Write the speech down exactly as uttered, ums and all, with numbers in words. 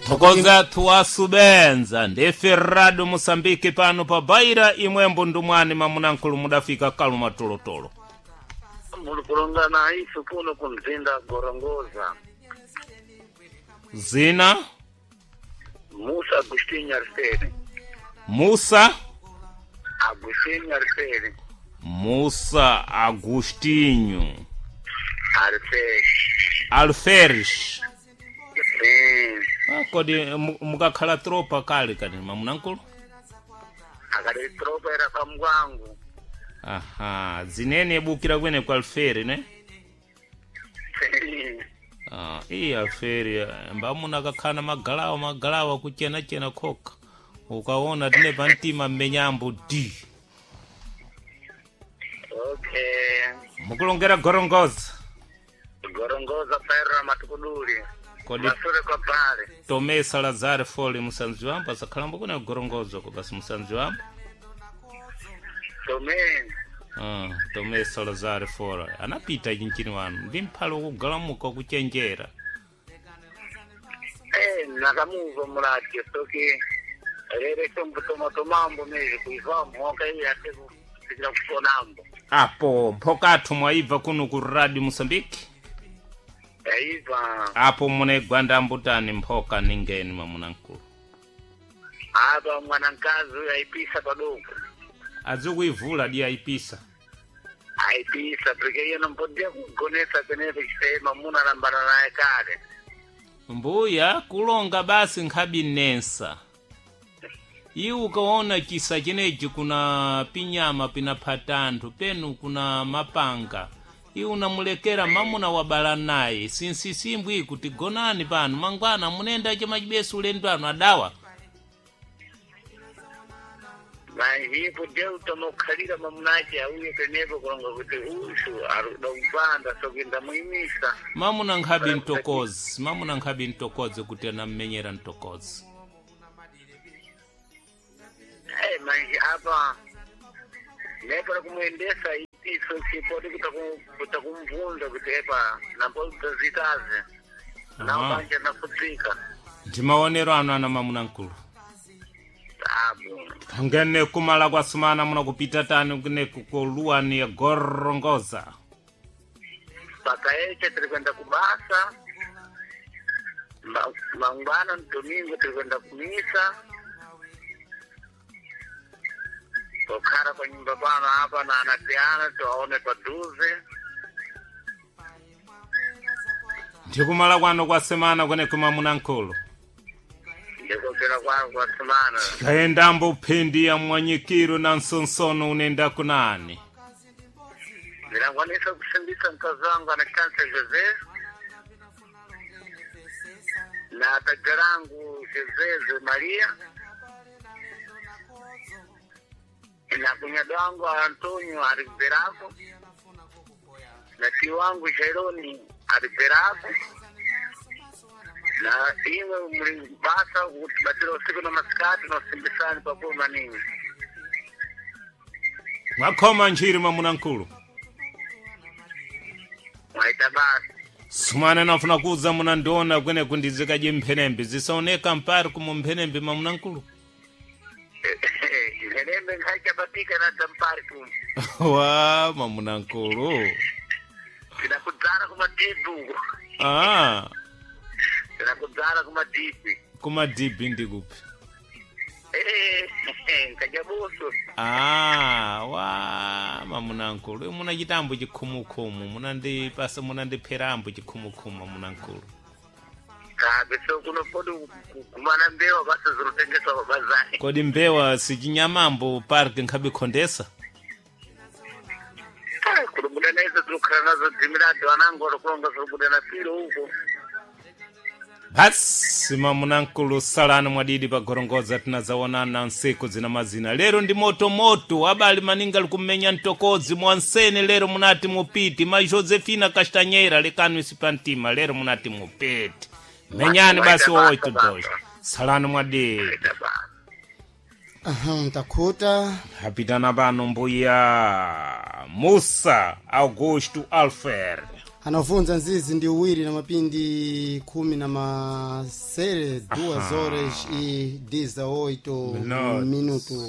Thokoza tuwasubenza ndife rado Moçambique pano pa Baira imwembo ndumwani mamunankulu mudafika kaluma tolotolo. Muli kulongana isu kuno kumzinda Gorongoza. Zina Musa Agustinho Arfere. Musa Agustinho Arfere. Musa Agostinho Arfere. Alferes. Sim. Ah, kodi mu- mukakhala tropa kale kani mamunankulu? Akati tropa era pamwangu. Aha, zinene bukira kwene kwa Alfere ne? Sim. Ah, iyi Alfere mbamuna kakhala magalawa magalawa kuchena-chena khoka. Ukaona tine pamtima mmenyambo D. Okay. Mukulongera Gorongoza. Gorongoza paira matukuduli. Kodi Masure kwa pale. Tomé Salazar Fole musanzi wambo asakhalambo kuna Gorongoza ko basi musanzi wambo. Tomé. Ah, Tomé Salazar Fole anapita chinchini wanu ndi mphalo kugalamuka kuchenjera. Eh, nakamuva mulati soki rere tombo mezi kuivambo mwaka iyi ate kufikira kuponambo. Apo mphokathu mwaibva kuno ku Radio Moçambique. Yaiva Apo munegwa ndambutani mphoka ningeni mamunankulu. apa mwanankazi uyu aipisa padoko. Azikuivula di aipisa. Aipisa porque iye nompodia kugonesa penepo chisema muna alambana naye kale. Mbuya kulonga basi nkhabi nensa. Iwe ukaona chisa chenechi kuna pinyama pinaphatanthu penu kuna mapanga. Iwe unamulekera mamuna wabala naye sinsisimbwi kuti gonani pano mangwana munenda chamachibesu ulendo anu adawa. Manjipo deu tomokhalira mamunache auye penepo kulonga kuti ushu arikuda kupanda sokuenda muimisa. Mamuna nkhabi mtokozi, mamuna nkhabi mtokozi kuti anammenyera mtokozi. Eh, manji apa nepera kumuendesa ipiso chipodi kutakumvunza kuti epa napozitaze Aha. naupanja nafutsika Ndi maonero anu ana mamuna nkulu. tabu Ngene kumala kwa sumana muna kupita tani kune kukoluwani ya Gorongoza. pakaeche tiri kuenda kubasa Ma- mangwana domingo tiri kuenda kumisa tokhala pa nyumba pano apa na anatiana tiwaone padhuze Ndikumala kwano kwa semana kune kumamuna nkulu. ndikopera kwangu kwasimana Kaendambo phindi ya mwanyikiro na nsonsono unenda kunani. ndinakwanisa kusimbisa mkazi wangu ana chansa Jose na taja langu Joseze Maria na kunyado wangu Antonio aliberako na tio wangu Jeroni aliberako na imwe muli basa kutibatira usiku na masikati na usimbisani pakulu maningi. Mwakhoma nchiri mwamuna nkulu. Mwaita basi. Sumana nafuna kuza munandiona kwene kundizikaje mphenembe zisaoneka mpari kumu mphenembe mwamuna nkulu. Ihenembe nkhaichapatika na tampari kumu Wa mwamuna nkulu. Tinakudzara kumadhibhi uko. Ah, Tinakudzara kumadhibhi. kumadhibhi ndikupi? Eh, nkajabuso. Ah, wa mamunankulu muna chitambo chikhumukhumu munandipasa munandipherambo chikhumukhumu mamunankulu. Kabe so kuno podi kugumana mbewa basa zinotengeswa pabazari. Kodi mbewa sichinyamambo park nkhabe khondesa? Kunobuda naizo tinokhala nazo dzimirado anangu alokulonga zinobuda na pilo uko. Basi mamunankulu salani mwadidi pa Gorongoza tinazaonana nsiku zina mazina lero ndi motomoto abali maninga likumenya mtokozi mwansene lero munati mupiti ma Josefina Castanheira lekani isipantima lero munati mupiti menyani basi Waita oito basa, dois basa. salani mwadidi. Waita basa. Aham, takhuta Apitana pano mbuya Musa Augusto Alfer. Anavunza nzizi ndi uwiri na mapindi khumi na masere duas horas e dezoito Minutos. minuto.